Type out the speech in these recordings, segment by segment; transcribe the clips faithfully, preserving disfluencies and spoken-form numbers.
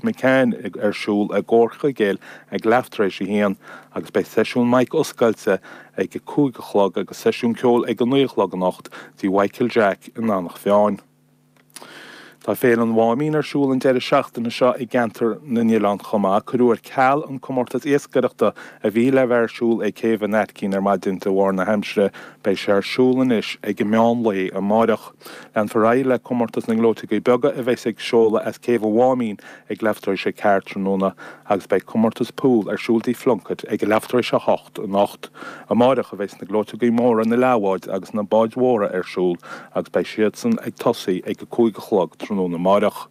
McCann ar siúl i gComhar Chuigéil ag leath tar éis a haon agus beidh seisiún mic oscailte ag a cúig a chlog agus seisiún ceoil ag a naoi a chlog anocht tí Mhichael Jack in Eanach Mheáin. Tá Féile an Mháimín ar siúl an deireadh seachtaine seo i gceantar na nOileán chomh maith. Cuireadh ar ceal an comórtas iascaireachta a bhí le bheith ar siúl ag Céibh an Aitcín ar maidin de bharr na haimsire. Beidh sé ar siúl anois ag an meán lae amáireach. Leanfar ar aghaidh le comórtas na ngleoiteogaí beaga a bheas ag seoladh as Céibh an Mháimín ag leath tar éis a ceathair tráthnóna agus beidh comórtas pool ar siúl tí Phlunkett ag leath tar éis a hocht anocht. Amáireach a bheas na gleoiteogaí móra na leathbháid agus na báid mhóra ar siúl agus beidh siadsan ag tosaí ag a cúig a chlog tráthnóna amáireach.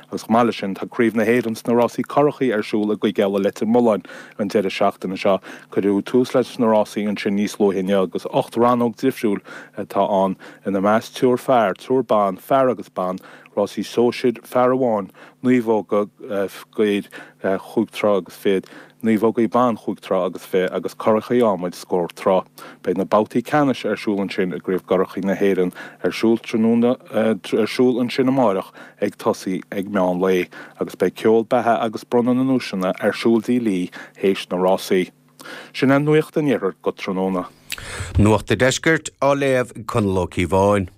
Agus chomh maith leis sin tá Craobh na hÉireann sna rásaí currachaí ar siúl i gCuig Eile Leitir Mealláin an deireadh seachtaine seo. Cuireadh tús leis na rásaí ansin níos luaithe inniu agus ocht rannóg difriúil atá ann ina measc triúr fear, triúr ban, fear agus ban, rásaí sóisir, fear amháin, naomhóga fir chúig troigh agus fiche, naomhógaí ban chúig troigh agus fiche agus currachaí adhmaid scór troigh. Beidh na babhtaí ceannais ar siúl ansin i gCraobh gCurachaí na hÉireann ar siúl tráthnóna ar siúl ansin amáireach ag tosaí ag meán lae agus beidh ceol beatha agus bronnadh na nduaiseanna ar siúl tí Lee théis na rásaí. Sin an nuacht an iarthair go tráthnóna. Nuacht an Deiscirt á léamh ag Conall Ó Cíobháin.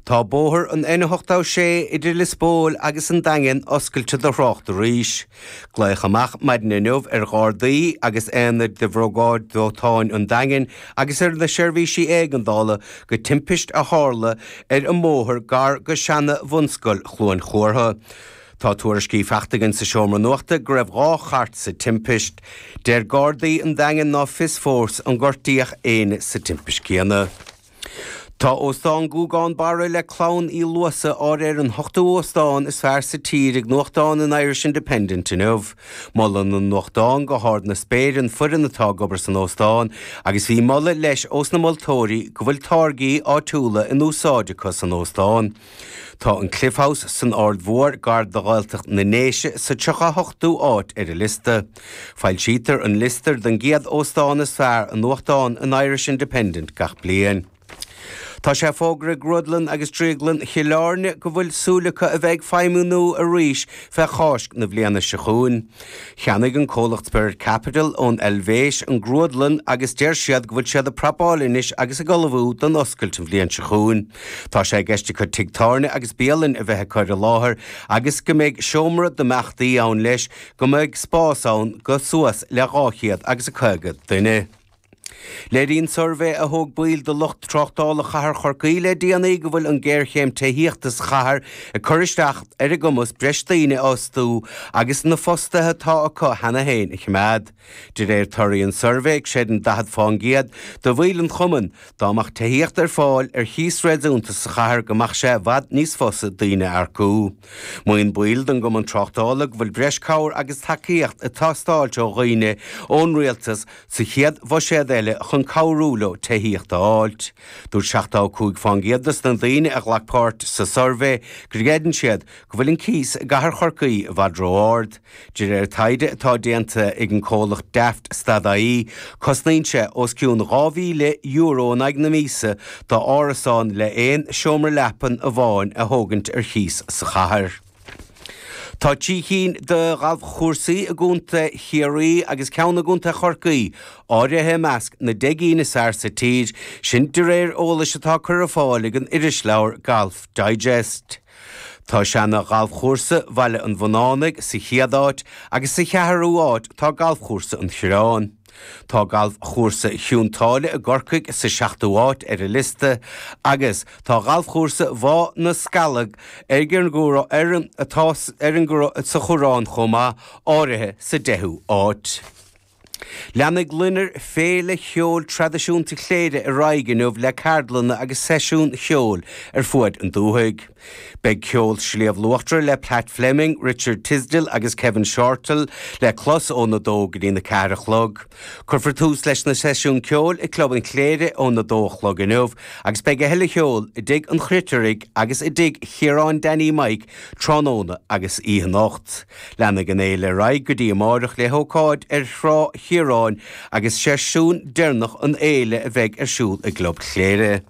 Tá bóthar an N ochtó sé idir Lios Póil agus an Daingean oscailte do thrácht arís. Glaodh amach maidin inniu ar Ghardaí agus aonaid de Bhriogáid Dóiteáin an Daingin agus ar na seirbhísí éigeandála go timpist a tharla ar an mbóthar gar go seana-bhunscoil Chluain Chortha. Tá tuairiscí faighte againn sa seomra nuachta go raibh dhá chairt sa timpist. Deir Gardaí an Daingin ná fios fós an gortaíodh éinne sa timpist céanna. Tá Óstán Ghúgán Barra le clann Uí Luasa áirithe ar an ochtú óstán is fearr sa tír ag nuachtán an Irish Independent inniu. Molann an nuachtán go hard na spéire an foireann atá ag obair san óstán agus bhí moladh leis ós na moltóirí go bhfuil táirgí áitiúla in úsáid acu san óstán. Tá an Cliff House san Aird Mhór gar do Ghaeltacht na nDéise sa tríocha hochtú áit ar an liosta. Foilsítear an liosta den gcéad óstán is fearr i nuachtán an Irish Independent gach bliain. Tá sé fógartha ag Grúdlann agus Drioglann Chill Airne go bhfuil súil acu a bheith ag feidhmiú arís fé Cháisc na bliana seo chugainn. Cheannaigh an comhlacht Spirit Capital ón Eilvéis an Grúdlann agus deir siad go bhfuil siad ag prapáil anois agus ag ullmhú don oscailt an bhliain seo chugainn. Tá sé i gceist acu tigh tábhairne agus bialann a bheith acu ar an láthair agus go mbeidh seomra d'imeachtaí ann leis go mbeidh spás ann go suas le dhá chéad agus a caoga duine. Léiríonn suirbhé a thóg baill de lucht tráchtála chathair Chorcaí le déanaí go bhfuil an géarchéim tithíochta sa chathair ag cur isteach ar a gcumas breis daoine a fhostú agus na fostaithe atá acu cheana féin a choimeád. De réir torthaí an suirbhé creideann daichead faoin gcéad de bhaill an chumainn dá mbeadh tithíocht ar fáil ar chíos réasúnta sa chathair go mbeadh sé i bhfad níos fusa daoine a earcú. Maíonn baill den gcumann tráchtála go bhfuil breis cabhair agus tacaíocht ag teastáil ó dhaoine ón rialtas sa chéad bhuiséad eile chun cabhrú leo tithíocht a fháilt. Dúirt seachtó cúig faoin gcéad dos na daoine a ghlac páirt sa suirbhé go gcreideann siad go bhfuil an cíos i gcathair Chorcaí i bhfad ró-ard. De réir taighde atá déanta ag an comhlacht Daft Stad.ie, cosnaíonn sé os cionn dhá mhíle euro in aghaidh na míosa d'árasán le aon seomra leapan amháin a thógaint ar chíos sa chathair. Tá trí cinn de ghalfchúrsaí i gContae Chiarraí agus ceann i gContae Chorcaí áirithe i measc na deich gcinn is fearr sa tír, sin de réir eolais atá curtha ar fáil ag an irisleabhar Golf Digest. Tá seana ghalfchúrsa Bhaile an Bhunánaigh sa chéad áit agus sa cheathrú áit tá galfchúrsa an Choireáin. Tá galfchúrsa Chionn tSáile i gCorcaigh sa seachtú áit ar an liosta agus tá galfchúrsa Bhá na Scalg ar an gCoireán ar an atá ar an sa Choireán chomh maith áirithe sa deichiú áit. Leanfaidh Loinnir Féile Cheoil Traidisiúnta Chléire ar aghaidh inniu le ceardlanna agus seisiúin cheoil ar fuaid an dúthaigh. Beidh ceol Sliabh Luachra le Pat Fleming, Richard Tisdall agus Kevin Shortall le clos óna dó go dtí na ceathair a chlog. Cuirfear tús leis na seisiúin ceoil i Club an Chléire óna dó a chlog inniu, agus beidh a thuilleadh cheoil i dTigh an Chruitiraigh agus i dTigh Chiaráin Danny Mike tráthnóna agus oíche anocht. Leanfaidh an fhéile ar aghaidh go dtí amárach le hócáid ar Thrá Chiaráin agus seisiún deireanach an fhéile a bheidh ar siúl i gClub Chléire.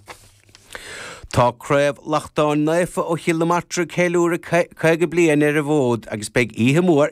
Tá Craobh Lachtáin Naofa ó Chill na Martra ceiliúradh caoga bliain ar an bhfód agus beidh oíche mhór